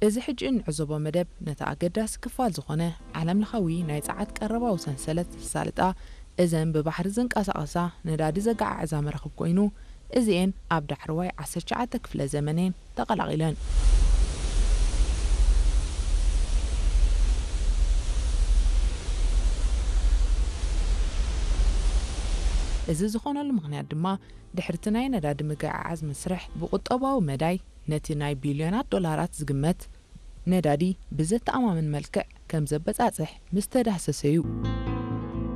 እዚ ሕጂ እንዕዘቦ መደብ ነቲ ኣገዳሲ ክፋል ዝኾነ ዓለምለኻዊ ናይ ጸዓት ቀረባዊ ሰንሰለት ዘሳልጣ፣ እዘን ብባሕሪ ዝንቀሳቐሳ ነዳዲ ዘገዓዕዛ መራኽብ ኮይኑ፣ እዚኤን ኣብ ዳሕረዋይ ዓሰርተ ትሽዓተ ክፍለ ዘመን እየን ተቐላቒለን። እዚ ዝኾነሉ ምኽንያት ድማ ድሕርቲ ናይ ነዳዲ ምግዕዓዝ መስርሕ ብቁጠባዊ መዳይ ነቲ ናይ ቢልዮናት ዶላራት ዝግመት ነዳዲ ብዘተኣማምን መልክዕ ከም ዘበጻጽሕ ምስ ተዳህሰሰ እዩ።